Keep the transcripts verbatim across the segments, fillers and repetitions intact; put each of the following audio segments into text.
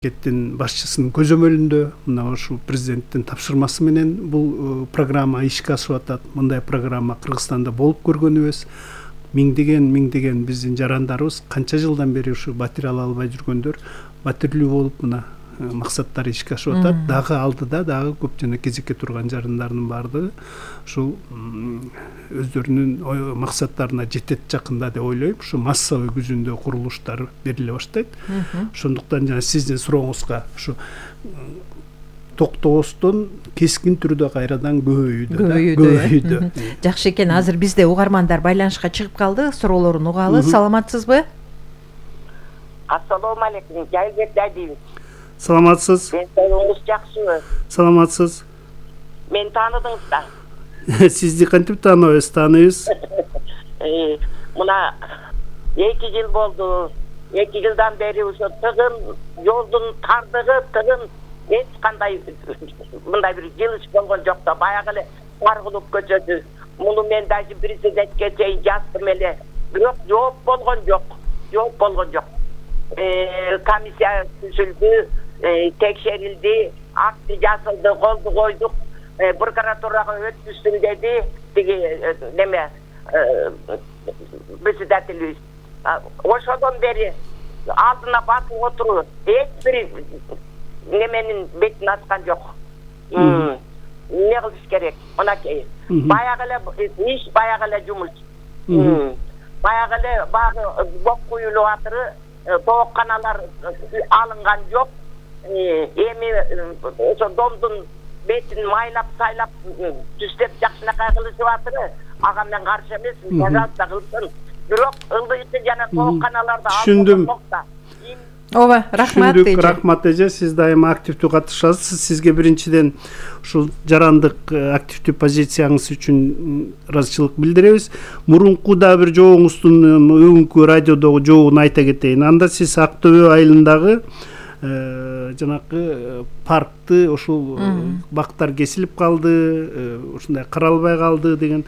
Мамлекеттин башчысынын көзөмөлүндө мына ушул президенттин тапшырмасы менен бул программа ишке ашып атат. Мындай программа Кыргызстанда болуп көргөнүбүз. Миңдеген миңдеген биздин жарандарыбыз канча жылдан бери ушу батир ала албай жүргөндөр батирлүү болуп мына максаттары ишке ашып атат. Дагы алдыда дагы көп жана кезекке турган жарандардын баардыгы ушул өздөрүнүн максаттарына жетет жакында деп ойлойм. Ушу массовый күзүндө курулуштар бериле баштайт. Ошондуктан жана сиздин сурооңузга ушу токтобостон кескин түрдө кайрадан көбөйүүдө көбөйүүдө. Жакшы экен. Азыр бизде угармандар байланышка чыгып калды. Суроолорун угалы. Саламатсызбы? Ассалому алейкум. Жайылбек Дайдиев. Саламатсыз. Денсаулыгыңыз жакшыбы? Саламатсыз. Мен таныдыңыз да? Сизди кантип тааныбайбыз, тааныйбыз. Мына эки жыл болду. эки жылдан бери ошо тыгын, жолдун тардыгы, тыгын эч кандай мындай бир жылыш болгон жок да. Баягы эле Таргулук көчөсү. Муну мен даже президентке чейин жаздым эле. Бирок жооп болгон жок. Жооп болгон жок. Комиссия түзүлдү, текшерилди, акты жазылды, колду койдук, прокуратурага өткүздүм деди, тиги неме председателибиз. Ошодон бери алдына басып отуруп, эч бир неменин бетин ачкан жок. Эмне кылыш керек? Мынакей. Баягы эле иш, баягы эле жумуш. Баягы эле багы бок куюлуп атыры, тоокканалар алынган жок. Эми ошо домдун бетин майлап сайлап түстеп жакшынакай кылышып атыры. Ага мен каршы эмесмин, пожалуйста кылсын. Бирок ылдыйкы жана тоокканаларды түшүндүм. Ооба, рахмат эже. Рахмат эже, сиз дайыма активдүү катышасыз. Сизге биринчиден ушул жарандык активдүү позицияңыз үчүн ыраазычылык билдиребиз. Мурунку да бир жообуңуздун бүгүнкү радиодогу жообун айта кетейин. Анда сиз Ак Төбө айылындагы жанакы паркты ушул бактар кесилип калды, ушундай каралбай калды деген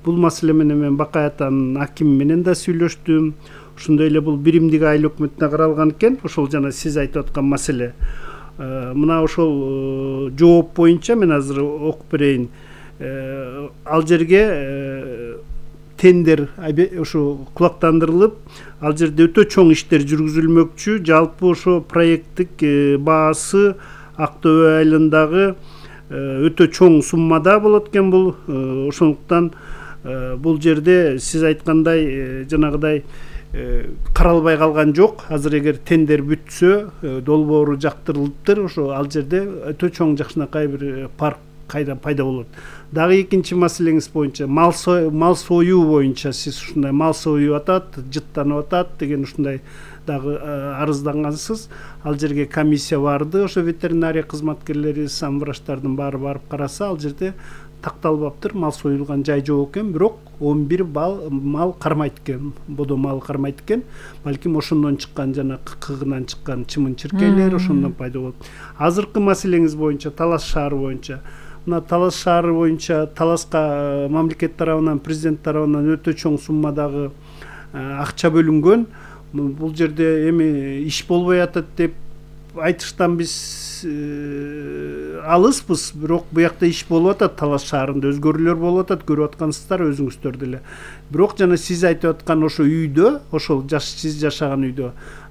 бул маселе менен мен Бакай атанын акими менен да сүйлөштүм. Ошондой эле бул биримдик айыл өкмөтүнө каралган экен. Ошол жана сиз айтып аткан маселе. Мына ошол жооп боюнча мен азыр окуп берейин. Ал жерге тендер ошо кулактандырылып, ал жерде өтө чоң иштер жүргүзүлмөкчү. Жалпы ошо проекттик баасы Ак Төбө айылындагы өтө чоң суммада болот экен бул. Ошондуктан бул жерде сиз айткандай жанагыдай каралбай калган жок. Азыр эгер тендер бүтсө, долбоору жактырылыптыр, ошо ал жерде өтө чоң жакшынакай бир парк кайра пайда болот. Дагы экинчи маселеңиз боюнча мал мал союу боюнча сиз ушундай мал союп атат, жыттанып атат деген ушундай дагы арыздангансыз. Ал жерге комиссия барды, ошо ветеринария кызматкерлери, самвраштардын баары барып караса, ал жерде такталбаптыр, мал союлган жай жок экен, бирок он бир мал кармайт экен, бодо мал кармайт экен. Балким ошондон чыккан жана кыгынан чыккан чымын-чиркейлер ошондон пайда болот. Азыркы маселеңиз боюнча, Талас шаары боюнча, мына Талас шаары боюнча Таласка мамлекет тарабынан, президент тарабынан өтө чоң суммадагы акча бөлүнгөн. Бул жерде эми иш болбой атат деп айтыштан биз алыспыз, бирок буякта иш болуп атат. Талас шаарында өзгөрүүлөр болуп атат, көрүп аткансыздар өзүңүздөр деле. Бирок жана сиз айтып аткан ошо үйдө, ошол жаш сиз жашаган үйдө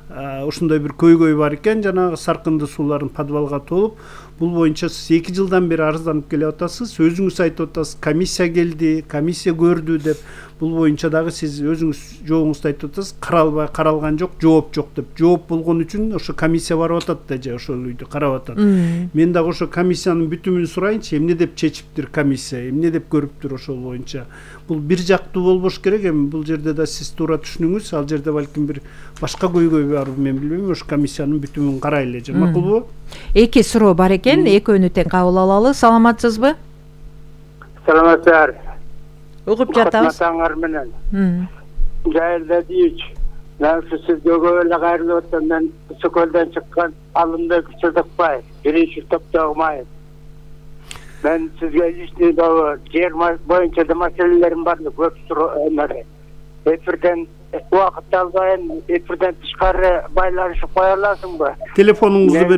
ошондой бир көйгөй бар экен, жанагы саркынды суулардын подвалга толуп. Бул боюнча сиз эки жылдан бери арызданып келип атасыз. Өзүңүз айтып атасыз, комиссия келди, комиссия көрдү деп. Бул боюнча дагы сиз өзүңүз жообуңузду айтып атасыз, каралбай каралган жок, жооп жок деп. Жооп болгон үчүн ошо комиссия барып атат да же ошол үйдү карап атат. Мен дагы ошо комиссиянын бүтүмүн сурайынчы, эмне деп чечиптир комиссия, эмне деп көрүптүр ошол боюнча. Бул бир жактуу болбош керек. Эми бул жерде да сиз туура түшүнүңүз. Ал жерде балким бир башка көйгөй барбы, мен билбейм. Ошо комиссиянын бүтүмүн карайлы же, макулбу? Эки суроо бар экен, экөөнү тең кабыл алалы. Саламатсызбы? Саламатсыздар. Угуп жатабыз. Матаңар менен. Жайылда дейч. Мен сиздерге эле кайрылып атам. Мен Соколдон чыккан Алымбек Сыдыкбаев, биринчи топтогу майып. Мен сизге личный жер боюнча да маселелерим бар, көп суроо. Эфирден убакыт албайын эфирден тышкары байланышып кое аласыңбы? Телефонуңузду